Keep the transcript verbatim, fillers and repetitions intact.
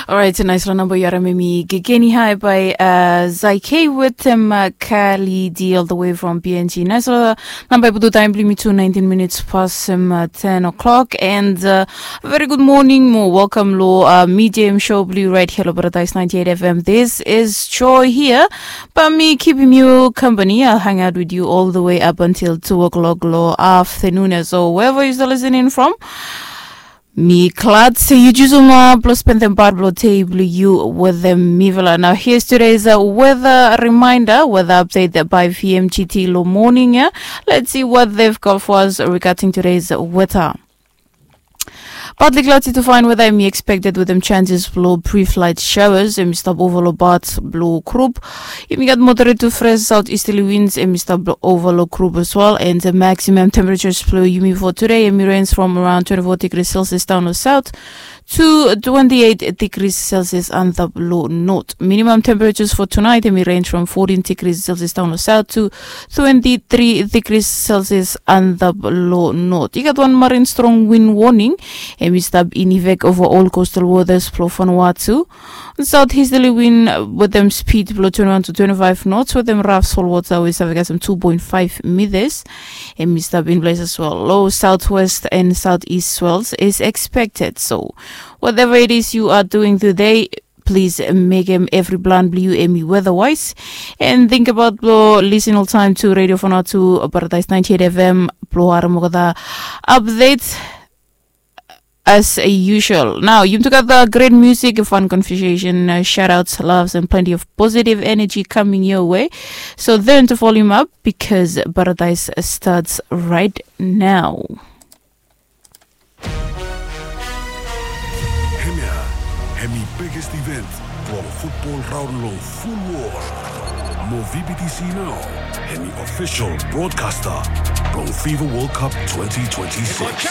Orait, naisfala namba yu harim em i Gegeni Hai bae Zaike wetem Kali D all the way from B N G. Naisfala namba i putum taem blong yumi tu, naentin minits pasem ten o'clock. And very gud moning mo welkam long Medium Show blong yu right hia long Paradise ninety-eight F M. This is Joy hia. Bae mi kipim yu kampani. I'll hang out with you all the way up until two o'clock long aftenun ya. So wherever yu stap listening from, mi glad se yu jusum blong spendem pat blong dei blong yu wetem mifala. Nao here's today's weather reminder, weather update by V M G T long moning ya. Let's see what they've got for us regarding today's weather. Partly cloudy to fine weather em i expected wetem chances blong brief light showers. Em i stap ova long part blong group. Yumi gat moderate to fresh southeasterly winds em i stap ova long group as well. And the maximum temperatures blong yumi for today em i range from around twenty-four degrees Celsius down long south to twenty-eight degrees Celsius antap long north. Minimum temperatures for tonight em i range from fourteen degrees Celsius down long south to twenty-three degrees Celsius antap long north. I gat wan marine strong wind warning em i stap in effect over all coastal waters blong Vanuatu. Southeasterly wind wetem speed blong twenty-one to twenty-five knots wetem rough swell water we i save kasem two point five meters. Em i stap in place as well. Low southwest and southeast swells is expected. So whatever it is you are doing today, please mekem evri plan blong yu em i weather wise. And think about blong listen oltaem to Radio Vanuatu Paradise ninety-eight F M blong harim olgeta update as usual. Nao yumi tugeta great music, fun conversation, shoutouts, loves and plenty of positive energy coming your way. So turn the volume up because Paradise starts right now. Hemia hemi biggest event blong futbol raon long ful wol. Mo V B T C nao hemi official broadcaster blong FIFA World Cup twenty twenty-six.